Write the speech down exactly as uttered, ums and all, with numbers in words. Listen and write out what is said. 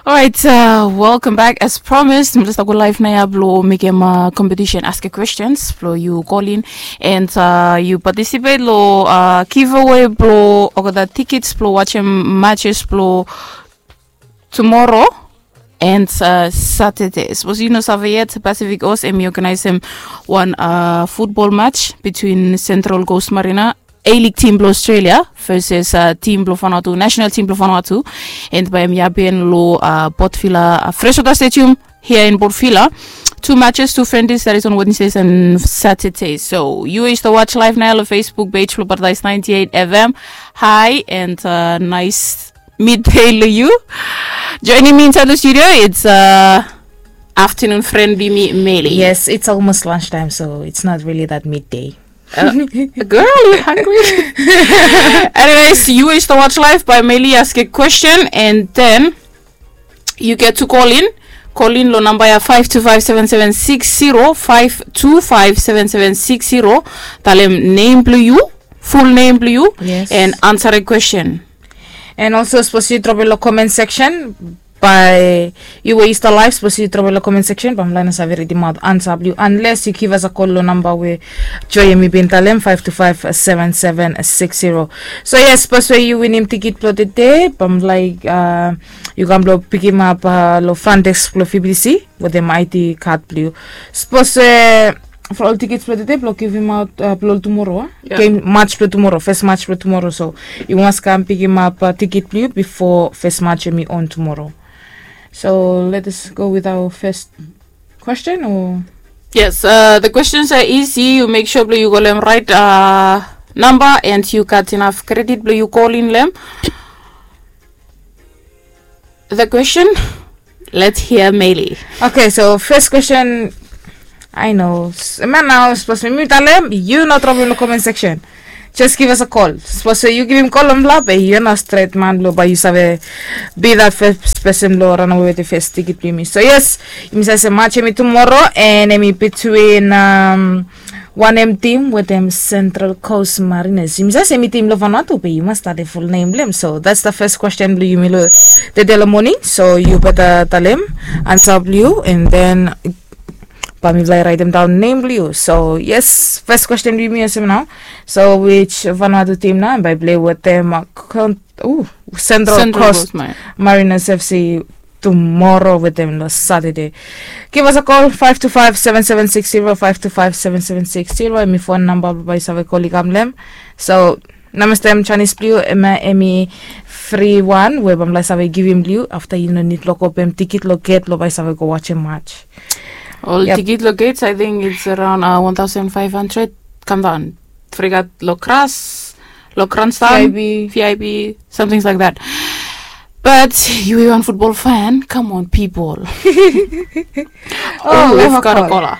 Alright, uh, welcome back. As promised, mi just go live nao ya blo mekem uh, competition, ask a questions blo yu call in and uh, yu participate lo uh, giveaway blo oga da tickets blo watching matches blo tomorrow and uh, Saturday. Suppose yu no save yet, Pacific Os em i organizem one uh, football match between Central Coast Marina A-League team blo Australia versus uh, team blo Vanuatu, national team blo Vanuatu. And bae em i happen lo uh, Port Vila uh, Freshwater Stadium here in Port Vila. Two matches, two friendlies, that is on Wednesdays and Saturdays. So yu is the watch live nao lo Facebook page blo Paradise ninety-eight F M. Hi and uh, nice midday lo yu. Joining me inside the studio, it's uh, afternoon friend blo mi, Meli. Yes, it's almost lunchtime, so it's not really that midday. Uh, girl, you hungry? Anyways, yu is the watch live by Meli ask a question and then you get to call in. Call in lo namba ya five two five seven seven six zero, five two five seven seven six zero. Talem name blo yu, full name blo yu, Yes. And answer a question. And also, suppose yu drop lo comment section by yu we yu stap live, suppose yu drop lo comment section, bamlae no save ridimaot ansa blo yu unless yu give us a call lo namba we Joy em i bin talem, five two five seven seven six zero. So yes, suppose we yu winim tikit blo tede, bamlae uh, yu kam blo pikimap uh, lo front desk blo V B C wetem I D card blo yu. Suppose uh, for ol tikits blo tede blo givimaot uh, blo ol tumoro, uh? Yeah. Game match blo tumoro, first match blo tumoro. So yu mas kam pikimap uh, tikit blo yu bifo first match em i on tumoro. So let us go with our first question o Yes, uh, the questions are easy. You make sure blo yu call them right uh, number and you got enough credit blo yu call in them. The question, let's hear Meli. Okay, so first question. I know. Mani nao, suppose mi talem, yu no drop in the comment section. Just give us a call. Suppose yu givim call on bla be yu no straight man blo bae yu save be that first person blo run away with the first tikit blo yumi. So yes, yumi save se match em i tumoro and em i between um, one em team wetem Central Coast Mariners. Yumi save se em i team lo Vanuatu be yu mas stap the full name blo hem. So that's the first question blo yumi lo tede lo morning. So yu better talem ansa blo yu and then bae mi bae raitem daon nem blo yu. So yes, first question blo yumi olsem nao. So which Vanuatu team nao bae play wetem uh, Central Coast Mariners F C tumoro wetem lo Saturday? Give us a call, five two five seven seven six zero, five two five seven seven six zero. Em i phone number bae yu save call i kam lo hem. So namba stem Chinese blo yu, em i free one we bamlae save givim blo yu afta yu no nid lo go pem tikit lo gate lo bae yu save go watch a match. Ol tikit lo gates, I think it's around uh, one thousand five hundred. Kam daon. Fregat lo kras, lo kransta, V I P, something like that. But yu wan football fan, come on people. Oh, we've got a caller.